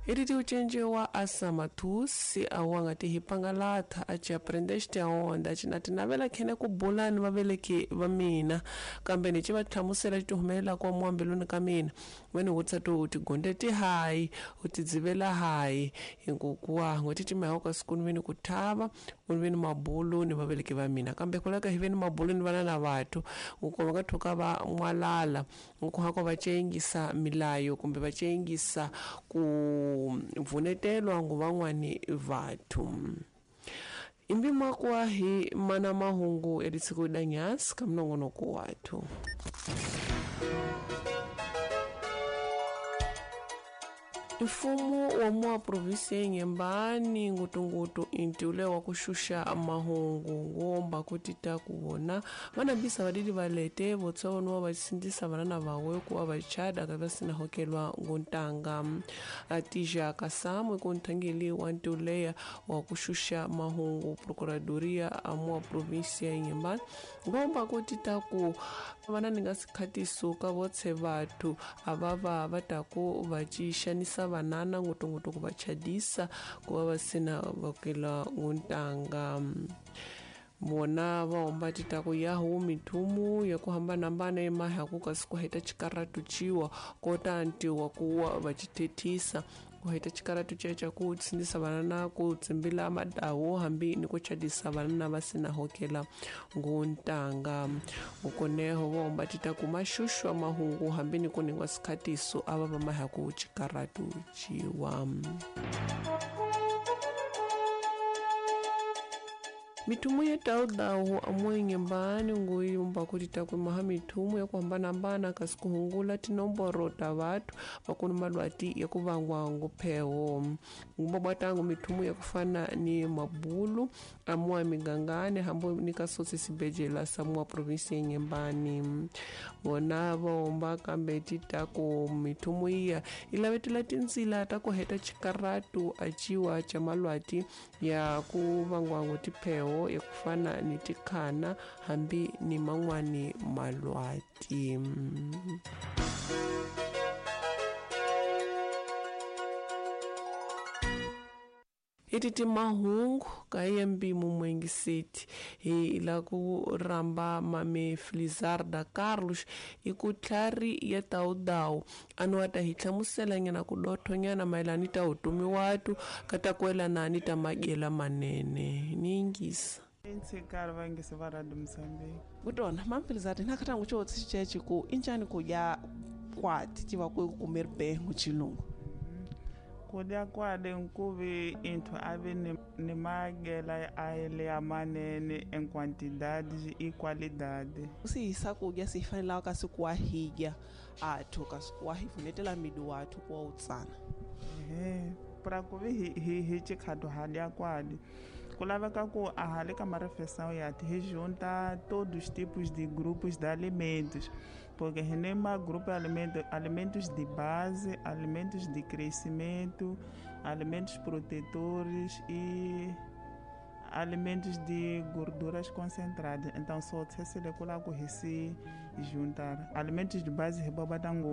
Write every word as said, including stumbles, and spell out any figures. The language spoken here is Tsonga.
Ititi ucenje wa asamatusi awanga tihipangalatha aci aprendeste aonda aci na tinavela khene ku bula ni vaveleki va mina kambe ni ci va hlamusela ti humelela kwa muambiluni ka mina wena vutisa to u tigonde ti hayi u ti dzivela hayi hinkukuwa n'hweti ti mayaku ka siku ni ve ni ku thava ku ni ve ni mabulu ni vaveleki va mina kambe kulaka hi ve ni mabulu ni vana na vathu ku va nga thuka va n'walala nkuhako va cengisa milayo kumbe va cengisa ku vunetelwa ngu van'wani vathu imbi makwa hi mana mahungu ya ditsiko danyas ka mnongonoko wathu. Mfumo wa mwa provinsi ya Inhambane ngutungutu intiule wa kushusha mahungu ngomba kutita kuwona vanabisa vadidi valete votsonwa vasindisa vanana vawe kuwa vachada kavasina hokelwa nguntanga atija kasamwe kuntangili wa ntiuleya wa kushusha mahungu procuradoria amwa provinsi ya Inhambane ngomba kutita ku vananinga sikhatiso ka votse vathu avava vataku vachishanisa vanana ngutungutu ku vachadisa kuva vasina vakela nguntanga vona va homba titaku yahu mithumu ya ku hambanahambana emahaku kasi ku heta xikaratu ciwa kota ntiwa kuwa va xithethisa ku heta xikaratu ceca ku tsindisa vanana ku tsimbila madawu hambi ni ku chadisa vanana va sina hokela nguntanga ukoneho va homba titaku maxuxwa mahungu hambi ni ku ningwa sikhatiso ava va mahaku xikaratu ciwa. Mithumu ya taudawu amwe Inhambane nguyumba kuti takumaha mithumu ya kuhambanahambana kasi kuhungula tinomboro ta vathu vakuni malwati ya kuvangwa ngupheho ngumba bwatangu mithumu ya kufana ni mabulu amwa migangane hambo ni kasotsi sibejela samwa provinsi ya Inhambane vona vahomba kambe titaku mithumu iya ilavetela tintsila ta ku heta xikaratu aciwa cha malwati ya kuvangwa ngutipheho ya kufana ni tikhana hambi ni man'wani malwati. Ititi mahungu ka yembi mumwengi city hi la ku ramba mame Felizarda Carlos ikutlhari ya taudawu anu ata hi hlamusela nyana ku dothonyana mayelana ta utumi watu kata kuelana ni ta magela manene ningisa Ntsikari va ngisi va Radio Mozambique kutona mame Felizarda na khatangu cho tsichechi ku injani ku ya kwati tiva ku kumer bengu chilungu kudya kwade nkuvi inthu ave ni, ni magela aele ya manene em quantidade e qualidade. Sihisa kudya sifanela kasi kuwahidya athu kasi kuwahivunetela midu wathu kuwa utsana. Ehe, pra kuvi hi hi hi chikhatu hadya kwade. Ku laveka ku a hale ka marefeição ya ti hi junta todos os tipos de grupos de alimentos, porque renema grupo de alimento, alimentos de base, alimentos de crescimento, alimentos protetores e alimentos de gorduras concentradas. Então só se le kula ku hi si juntar alimentos de base hi boba tango